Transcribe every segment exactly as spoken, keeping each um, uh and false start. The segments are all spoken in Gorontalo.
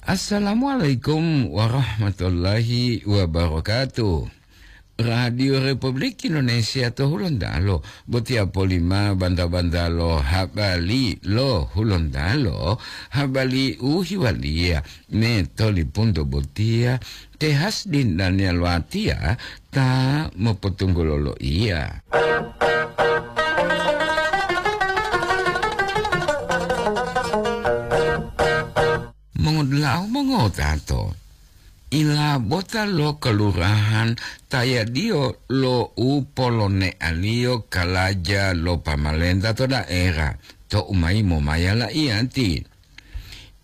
Assalamualaikum warahmatullahi wabarakatuh. Radio Republik Indonesia to Hulontalo, botiya polima banta-banta lo habari lo Hulontalo, habari u hiwaliya me tolipunto botiya, Te Hasdin Daniel Watiya ta mopotunggulo loiya. Mongodula'a mongotato, ilabota lo kelurahan tayadiyo lo u polonealiyo kalaja lo pamalenta to daerah to umayi momaya la'iyati.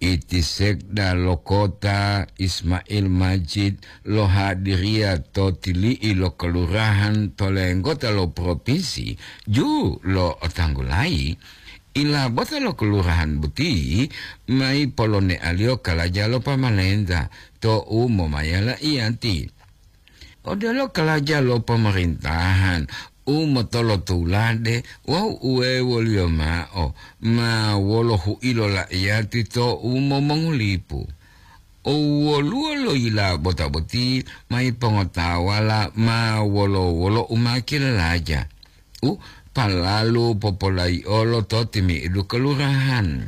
Iti sekda lo kota Ismail Majid lohadiriya to tili'i lo kelurahan to lenggota lo propinsi ju lo otanggulayi, ilabota lo kelurahan boti mayi polonealiyo kalaja lo pamalenta to u momaya la'iyati. Odelo kalaja lo pemerintahan u motolotulade wawu uwewoliyo ma'o ma wolo hu'ilo la'iyati to u momongulipu. O woluwo lo yilabota boti mayi pongotawala ma wolo-wolo u ma kilalaja, u palalu popolayi'olo to timi'idu kelurahan.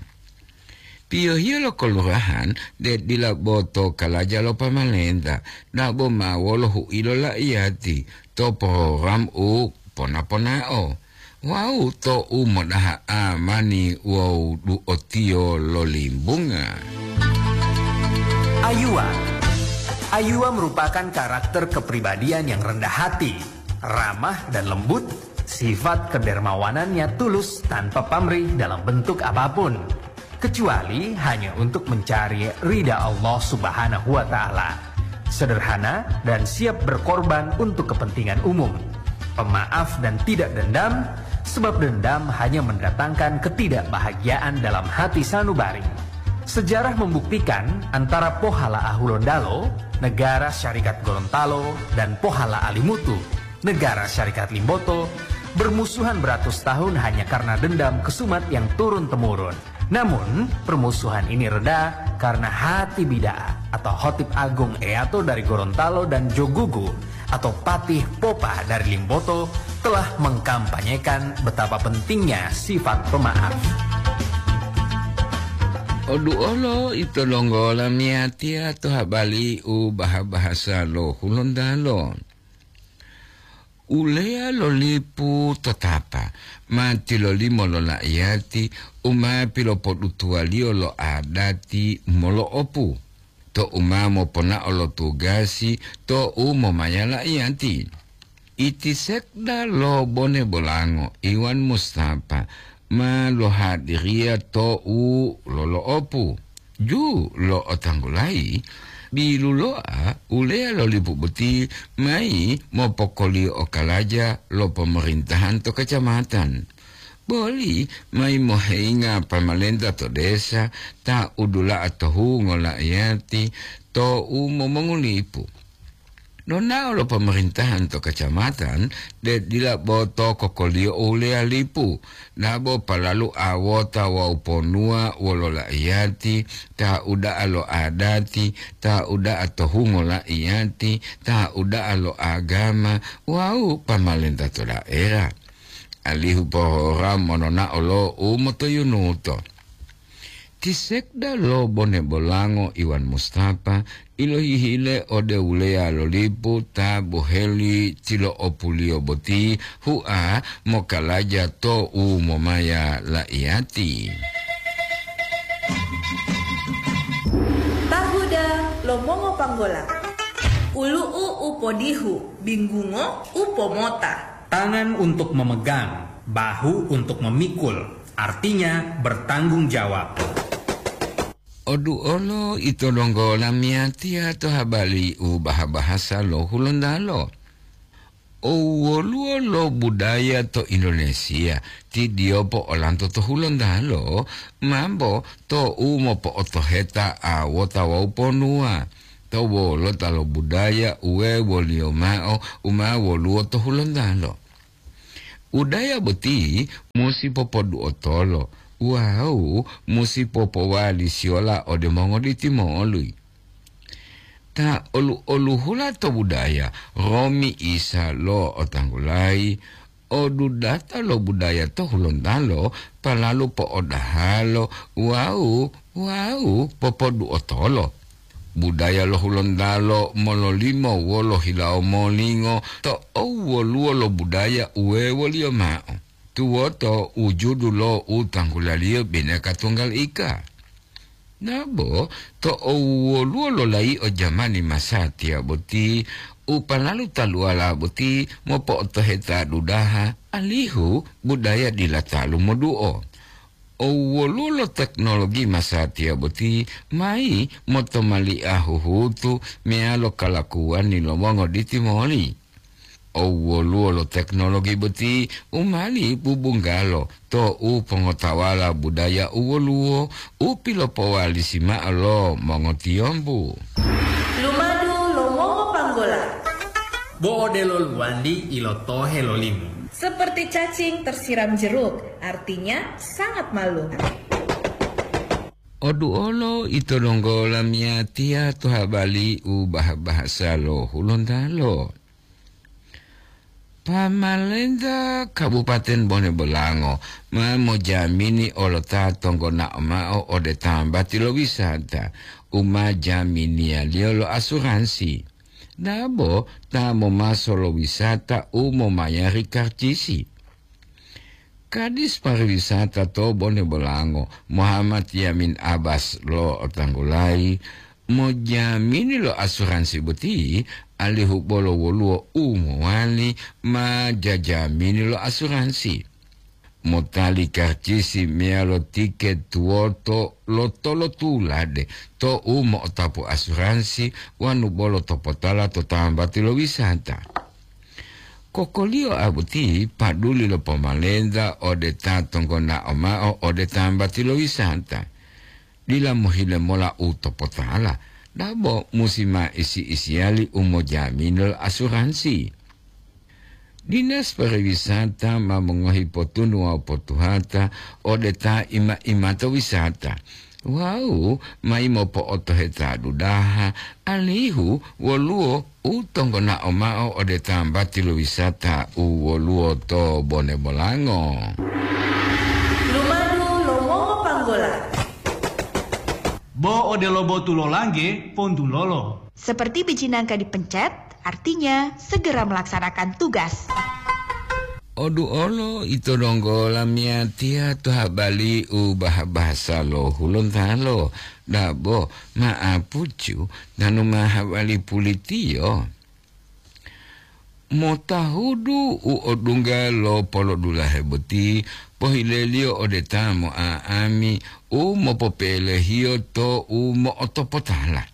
Piyohiyo lo kelurahan de dila bo to kalaja lo pamalenta, dabo ma wolo hu'ilo la'iyati to program u pona-ponao wawu to u modaha amani wawu du'otiyo lo limbunga. Ayuwa. Ayuwa merupakan karakter kepribadian yang rendah hati, ramah dan lembut. Sifat kedermawanannya tulus tanpa pamrih dalam bentuk apapun, kecuali hanya untuk mencari ridha Allah Subhanahu wa Ta'ala. Sederhana dan siap berkorban untuk kepentingan umum. Pemaaf dan tidak dendam, sebab dendam hanya mendatangkan ketidakbahagiaan dalam hati sanubari. Sejarah membuktikan antara Pohala Ahulondalo, Negara Syarikat Gorontalo, dan Pohala Alimutu, Negara Syarikat Limboto, bermusuhan beratus tahun hanya karena dendam kesumat yang turun-temurun. Namun, permusuhan ini reda karena Hati Bida'a atau Hotib Agung Eato dari Gorontalo dan Jogugu atau Patih Popa dari Limboto telah mengkampanyekan betapa pentingnya sifat pemaaf. Oduolo ito longgola miyatiya to habali u baha-bahasa lo Hulontalo. Uleya lo lipu to tapa ma tilolimo lo la'iyati u ma pilopodutuwaliyo lo adati molo'opu to u ma moponao lo tugasi to u momaya la'iyati. Iti sekda lo Bone Bolango Iwan Mustafa ma lohadiriya to u lolo'opu ju lo otanggulayi, biluloa uleya lo lipu boti mayi mopokoliyo okalaja lo pomorintahan to kacamatan. Boli mayi moheyinga pamalenta to desa ta udula'a to hungo la'iyati to u momongulipu. Nonao lo pemerintahan to kacamatan, de dila bo to kokoliyo uleya lipu, dabo palalu awota wawu ponuwa wolo la'iyati, ta uda'a lo adati, ta uda'a to hungo la'iyati, ta uda'a lo agama wawu pamalenta to daerah, alihu pohora mononao lo u motoyunuto. Ti sekda lo Bone Bolango Iwan Mustafa ilohihile ode wuleya lo lipu ta boheli tilo'opuliyo boti hua mokalaja to u momaya la'iyati. Tahuda lo mongopanggola. Ulu'u u podihu, binggungo u pomota. Tangan untuk memegang, bahu untuk memikul, artinya bertanggung jawab. Oduolo ito donggo lamiyatiya to habali u baha-bahasa lo Hulontalo. O woluwo lo budaya to Indonesia ti diyopo olanto to Hulontalo, mambo to u mopo'otoheta awota wawu ponuwa to wolota lo budaya uwe woliyo mao u ma woluwo to Hulontalo. Budaya boti musi popodu'otolo Wawu musi popowali siyola ode mongoditi moli. Ta olu-oluhula to budaya, romi isa lo otanggulayi, odudata lo budaya to Hulontalo, palalu po'odahalo wawu, wawu popoduotolo. Budaya lo Hulontalo mololimo wolo hilawo molingo to owoluwo lo budaya uwewoliyo ma'o. Tuwoto wujudu lo u tanggulaliyo bineka tunggal ika. Nabo to owoluwo lolayi'o jamani masatiya boti, u palalu taluwala boti mopo'otoheta dudaha, alihu budaya dila talu moduo. Owoluwo lo teknologi masatiya boti mayi motomali'a huhutu meyalo kalakuwani lo mongoditi moli. Owoluwo lo teknologi boti u mali bubunggalo to u pongotawala budaya u woluwo u pilopowalisi ma'o lo mongotiyombu. Lumadu lo mongopanggola. Bo odelo luwandi ilotohe lo limu. Seperti cacing tersiram jeruk, artinya sangat malu. Oduolo ito donggo lamiyatiya to habali u bah-bahasa lo Hulontalo. Pamalenta Kabupaten Bone Bolango ma mojamini olo ta tonggonao ma'o ode tambati lo wisata u ma jaminiyaliyo lo asuransi, dabo ta momaso lo wisata u momayari karcisi. Kadis Pariwisata to Bone Bolango, Muhammad Yamin Abbas lo otanggulayi, mojamini lo asuransi boti, alihu bolo woluwo u mowali ma jajamini lo asuransi. Motali karcisi meyalo tiket tuwoto lo tolotulade to u mo'otapu asuransi wanu bolo topotala to tambati lo wisata. Kokoliyo a boti paduli lo pomalenta ode ta tonggonao ma'o ode tambati lo wisata. Dila mohile mola u topotala, dabo musi ma isi-isiyali u mojamini lo asuransi. Dinas Pariwisata ma mongohi potunu wawu potuhata ode ta ima-imato wisata, wawu mayi mopo'otoheta dudaha, alihu woluwo u tonggonao ma'o ode tambati lo wisata u woluwo to Bone Bolango. Lumadu lo mongopanggola. Bo odelo botu lo langge, pontulolo. Seperti biji nangka dipencet, artinya segera melaksanakan tugas. Oduolo ito donggo lamiyatiya to habali u bah-bahasa lo Hulontalo, dabo ma'apucu tanu ma habali pulitiyo. Motahudu u odungga lo polodulahe boti, pohileliyo ode ta mo'a'ami u mopopelehiyo to u mo'otopotala.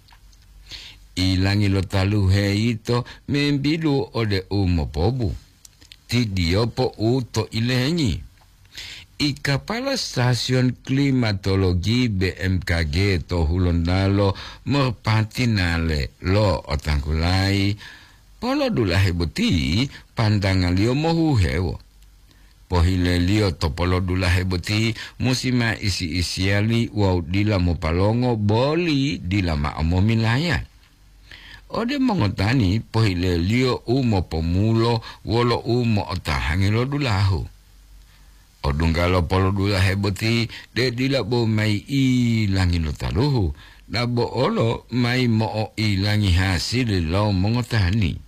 Ilangi lo taluhe yito membidu ode u mopobu. Tidiyopo u to ilengi. I kapala stasiyon klimatologi B M K G to Hulontalo merpati nale lo otanggulayi, polodulahe boti pantangaliyo mohuhewo. Pohileliyo to polodulahe boti musi ma isi-isiyali wawu dila mopalongo boli dila ma'o momilaya. Ode mongotani pohileliyo u mopomulo wolo u mo'otahangi lo dulahu. Odungga lo polodulahe boti de dila bo mayi ilangi lo taluhu, dabo olo mayi mo'oilangi hasili lo mongotani.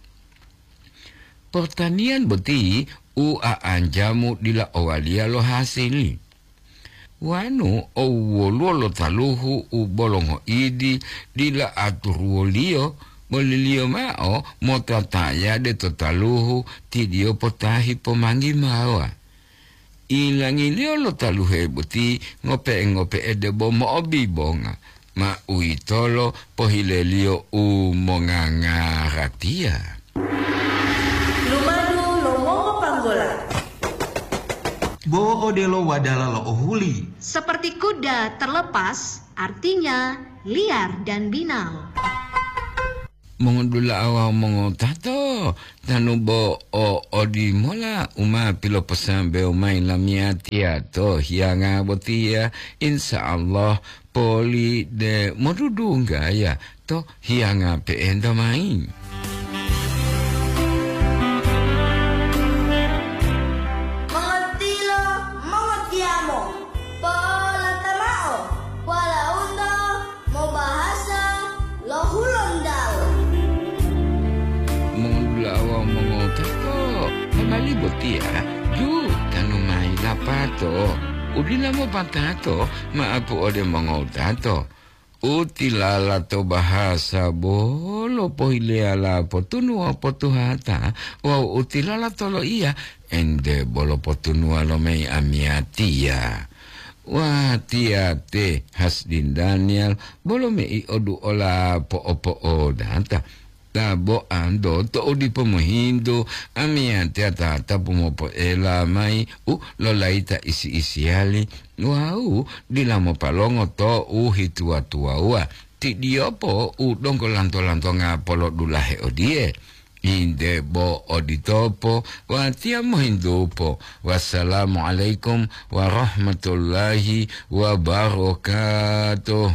Portaniyan boti u a'anjamu dila owaliya lo hasili. Wanu owwoluwo lo taluhu u bolo ngoidi dila aturuwoliyo, boliliyo mao mota tayade to taluhu tidiyo potahi pomanggi mawa. Ilangiliyo lo taluhe boti ngope'e-ngope'e debo mo'obibonga, ma uwitolo pohileliyo u mongangaratiya. Lumadu lo mongopanggola. Bo odelo wadala lo ohuli. Seperti kuda terlepas, artinya liar dan binal. Mongodula'a wawu mongotato. Tanu bo o odimola u ma piloposambewo mayi lamiyatiya to hiyanga botiya, insya Allah poli de modudunggaya to hiyanga pe'enta mayi. Mongotilo, mongotiyamo, polata mao, polaunto mobahasa lo Hulontalo. Mongudula'a wawu mongowutato, hamali botiya ju tanu mayi lapato. U dila mopatato ma'apu ode mongowutato. U tilala to bahasa bolo pohileyala potunuwa potuhata, wawu u tilala to loiya ente bolo potunuwa lo mayi amiyatiya. Watiya te Hasdin Daniel bolo mei oduola po'opo'odata. Ta bo anto to'u dipo mohintu, amiyatiya ta tapu mopoela mayi u lolayita isi-isiyali wawu dila mopalongo to u hituwa-tuwawuwa. Tidiyopo u donggo lanto-lantonga polodulahe odiye. Inde bo oditopo, watiya mohintupo. Wassalamualaikum warahmatullahi wabarakatuh.